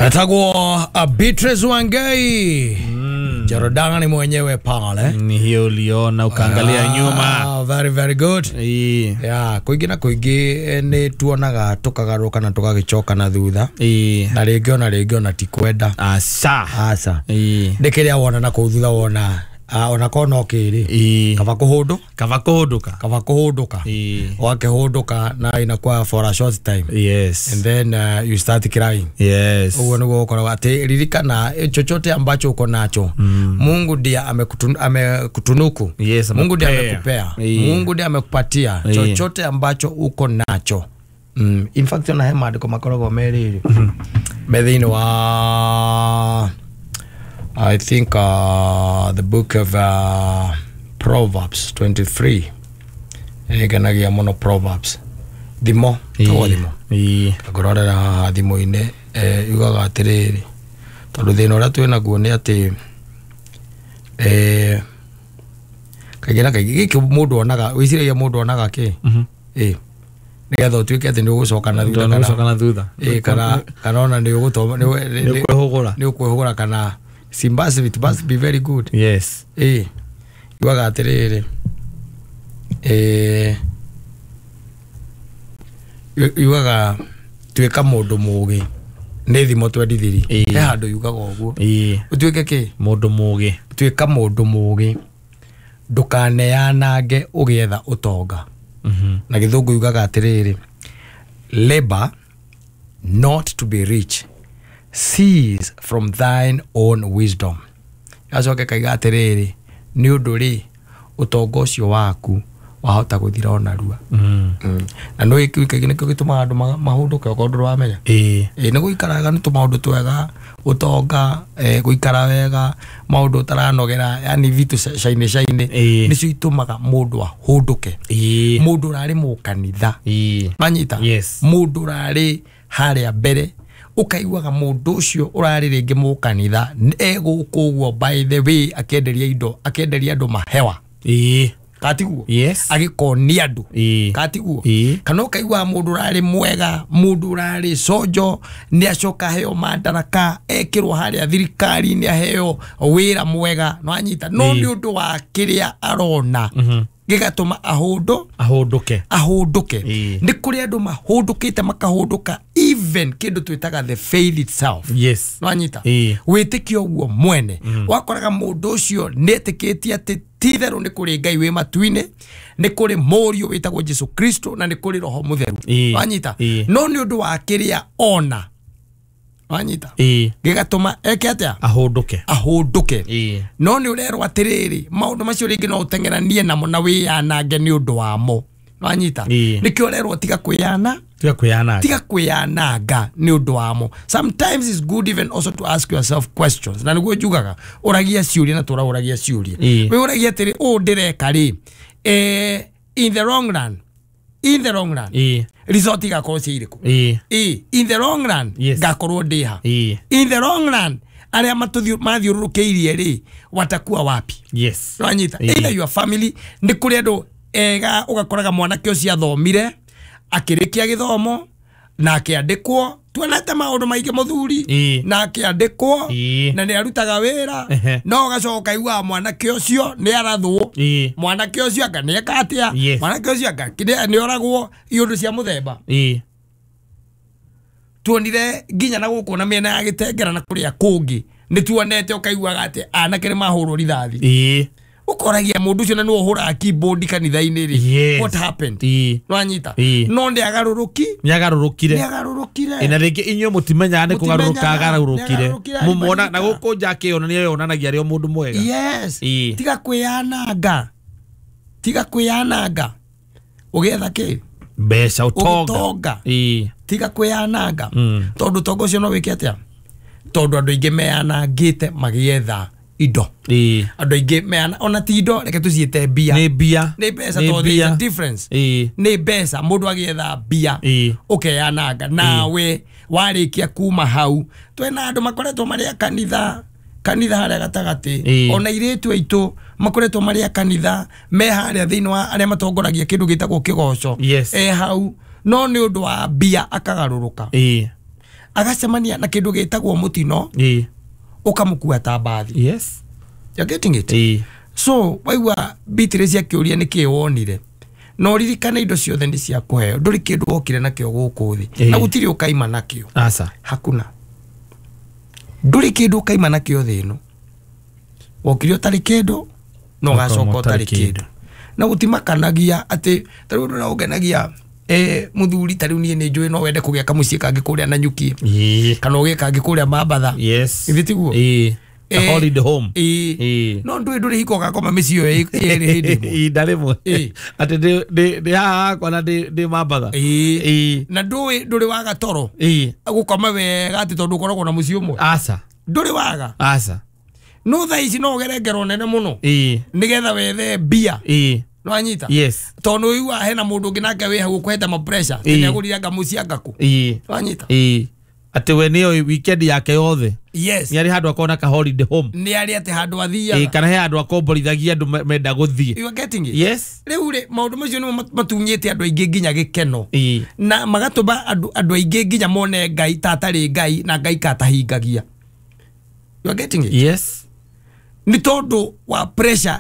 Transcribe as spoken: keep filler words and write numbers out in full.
Atagwo Beatrice Wangai. Mm. Jorodani mwenyewe pale. Ni hiyo uliona ukaangalia ah, nyuma. Very very good. Ii. Yeah, kuingi na kuingi ni tuonaga tukagaruka na tukagicoka na thutha. Ii. Na ringi ona ringi ona ti kwenda. Asa. Asa. Ii. Ndikiria wona na kuu thutha wona ah ona kono kiri. Ii. Kaba kuhundu. Kaba kuhunduka. Kaba kuhunduka. Ii. Wakihunduka na inakuwa for a short time. Yes. And then uh, you start crying. Yes. Uguo niguo ukoragwo ati ririkana chochote ambacho uko nacho. Mm. Mungu ndiye amekutun, amekutunuku. Yes, Mungu ndiye amekupea. Mungu ndiye amekupatia chochote ambacho uko nacho. Mm. In fact ona he maandiko makoragwo meriri. Mm. Me thiini wa I think uh, the book of uh, Proverbs twenty-three. Nĩngenagia mũno Proverbs. Thimo, tũgwo thimo. Ngũrorera haha thimũ-inĩ, eh, yugaga atĩrĩrĩ, tondũ thĩna ũrĩa twĩ naguo nĩ atĩ eh, kaingĩ na kaingĩ gĩkĩ mũndũ onaga, wĩciragia mũndũ onaga kĩ? Ĩ, nĩgetha ũtuĩke atĩ nĩũgũcoka na thutha kana Nĩũgũcoka na thutha. Ĩ, kana kana ona nĩũgũtoma nĩũkwĩhũgũra. Nĩũkwĩhũgũra kana Simbasi, it must be very good. Yes. Eh. Yugaga atĩrĩrĩ. Eh. Yugaga tuĩka mũndũ mũũgĩ. Nĩ thimo twenty-three. He handũ yugaga ũguo. Eh. Ũtuĩke kĩ? Mũndũ mũũgĩ. Tuĩka mũndũ mũũgĩ. Ndũkaneanange ũgĩetha ũtonga. Mhm. Na gĩthũngũ yugaga atĩrĩrĩ. Labor not to be rich. Cease from thine own wisdom. Gacoke kaiga atĩrĩrĩ, nĩ ũndũ rĩ ũtonga ũcio waku wahota gũthira ona rua. Mm. Mm. Na no gĩkĩ nĩkĩo gĩtũmaga andũ mahũndũke okorwo ndũramenya. Ĩĩ. Ĩĩ, nĩ gũikaraga nĩ tũmaũndũ twega, ũtonga, eh, gũikara wega, maũndũ ũtaranogera, yani vitu shaine shaine nĩcio itũmaga mũndũ ahũndũke. Ĩĩ. Mũndũ ũrarĩ mũkanitha. Ĩĩ. Manyita? Yes. Mũndũ ũrarĩ harĩa mbere ukaiguaga mũndũ ũcio ũrarĩ rĩngĩ mũkanitha egũkũ ũguo by the way akĩenderia indo akĩenderia andũ mahewa. Ĩĩ. Katiguo? Yes. Agĩkonia andũ. Ĩĩ. Katiguo? Ĩĩ. Kana ũkaiguaga mũndũ ũrarĩ mwega, mũndũ ũrarĩ cojo nĩ acoka aheo madaraka, ekĩrwo harĩa thirikari-inĩ aheo wĩra mwega, nĩwanyita? No nĩ ũndũ wa kĩrĩa arona gĩgatũma ahũndũ ahũndũke ahũndũke. Nĩ kũrĩ andũ mahũndũkĩte makahũndũka even kĩndũ twĩtaga the faith itself. Yes. Nĩwanyita? Wĩtĩkio ũguo mwene. Wakoraga mũndũ ũcio nĩetĩkĩtie atĩ ti-itherũ nĩ kũrĩ Ngai wĩ matu-inĩ, nĩ kũrĩ mũriũ wĩtagwo Jesu Kristo na nĩ kũrĩ Roho Mũtheru. Nĩwanyita? No nĩ ũndũ wa kĩrĩa ona. Nĩwanyita? Gĩgatũma eke atĩa? Ahũndũke. Ahũndũke. No nĩ ũrerwo atĩrĩrĩ, maũndũ macio rĩngĩ no ũteng'eranie namo na wĩyanange nĩ ũndũ wamo. Nĩwanyita? Nĩkĩo ũrerwo tiga kwĩyana tiga kwĩyananga. Tiga kwĩyananga nĩ ũndũ wamo. Sometimes it's good even also to ask yourself questions. Na nĩguo njugaga, ũragia ciũria na tũraũragia ciũria. Wĩ ũragia atĩrĩ, ũũ ndĩreka rĩ, eh, in the long run, in the long run, result igakorwo ciĩ irĩkũ? Ĩĩ. In the long run, ngakorwo ndĩ ha? In the long run, arĩa mathiũrũrũkĩirie rĩ, watakuwa wapi? Yes. Nĩwanyita? Either your family, nĩ kũrĩ andũ ega ũgakoraga mwanake ũcio athomire, akĩrĩkia gĩthomo na akĩandĩkwo, tuonete maũndũ maingĩ mũthuri, na akĩandĩkwo na nĩ arutaga wĩra, no ũgacoka ũkaiguaga mwanake ũcio nĩ arathwo, mwanake ũcio anga nĩ eka atĩa, mwanake ũcio anga nĩ oragwo, iũndũ cia mũthemba. Tuonire nginya na gũkũ na mĩena ya Gĩtengera na kũrĩa kũngĩ nĩ tuonete ũkaiguaga atĩ anake nĩ mahũrwo rithathi. Ũkoragia mũndũ ũcio na nĩwe ũhũraga keyboard kanitha-inĩ rĩ, what happened? Nĩwanyita? No nĩagarũrũki nĩagarũrũkire nĩagarũrũkire. Na rĩngĩ inyuĩ mũtimenyaga nĩ kũgarũrũka agarũrũkire, mũmuona na gũkũ nja akĩonania yonanagia arĩ o mũndũ mwega. Yes. Tiga kwĩyananga, tiga kwĩyananga ũgĩetha kĩ? Mbeca, ũtonga. Ũtonga. Tiga kwĩyananga tondũ ũtonga ũcio no wĩke atĩa? Tondũ andũ aingĩ meyanangĩte magĩetha indo. Andũ aingĩ meana ona ti indo, reke tũciĩte mbia. Nĩ mbia. Nĩ mbeca, tondũ there is a difference. Nĩ mbeca, mũndũ agĩetha mbia ũkeyananga nawe warĩkia kuma hau. Twĩna andũ makoretwo marĩ a kanitha, kanitha harĩa gatagatĩ, ona airĩtu aitũ makoretwo marĩ a kanitha, me harĩa thĩinĩ wa arĩa matongoragia kĩndũ gĩtagwo kĩgoco, e hau, no nĩ ũndũ wa mbia akagarũrũka. Agacemania na kĩndũ gĩtagwo mũtino, Ĩĩ. ũkamũkua ta mbathi. Yes. You're getting it? Ĩĩ. So waigua Beatrice akĩũria nĩkĩĩ wonire, na ũririkane indo ciothe nĩ cia kũheo, ndũrĩ kĩndũ wokire nakĩo gũkũ thĩ, Ĩĩ. na gũtirĩ ũkaima nakĩo. Aca. Hakuna, ndũrĩ kĩndũ ũkaima nakĩo thĩ ĩno. Wokire ũtarĩ kĩndũ na ũgacoka ũtarĩ kĩndũ, na gũtimakanagia atĩ ta rĩu ũndũ ũrĩa ũngenagia, eh, mũthuri, ta rĩu niĩ nĩ njũĩ no wende kũgĩa kamũciĩ kangĩ kũrĩa Nanyuki, Ĩĩ. kana ũgĩe kangĩ kũrĩa Mambatha. Yes. Githĩ tiguo? Ĩĩ. A Eh, holiday home. Ĩĩ. Ĩĩ. No ndũĩ ndũrĩ hingo ũgakoma mĩciĩ ĩyo ĩrĩ hĩndĩ ĩmwe. Ihinda rĩmwe. Ĩĩ. Atĩ ndĩ- ndĩ ndĩ haha hakwa na ndĩ ndĩ Mambatha. Ĩĩ. Ĩĩ. Na ndũĩ ndũrĩ waga toro Ĩĩ. gũkoma wega atĩ tondũ ũkoragwo na mũciĩ ũmwe. Aca. Ndũrĩ waga. Aca. No thaa ici no ũgere ngero nene mũno Ĩĩ. nĩgetha wethe mbia. Ĩĩ. Nĩwanyita? Yes. Tondũ ũigua hena mũndũ ũngĩ nake wĩ hau ũkũhete ma pressure. Ĩĩ. Nĩagũrire anga mũciĩ anga kũ. Ĩĩ. Nĩwanyita? Ĩĩ. Atĩ we nĩyo weekend yake yothe Yes. nĩ arĩ handũ akona ka holiday home. Nĩ arĩ atĩ handũ Ĩĩ, athiaga. kana he handũ akomborithagia andũ me- menda gũthiĩ. You are getting it? Yes. Rĩu rĩ, maũndũ macio nĩmo matunyĩte andũ aingĩ nginya gĩkeno, Ĩĩ. na magatũma andũ andũ aingĩ nginya mone Ngai ta atarĩ Ngai na Ngai katahingagia. You are getting it? Yes. Nĩ tondũ wa pressure.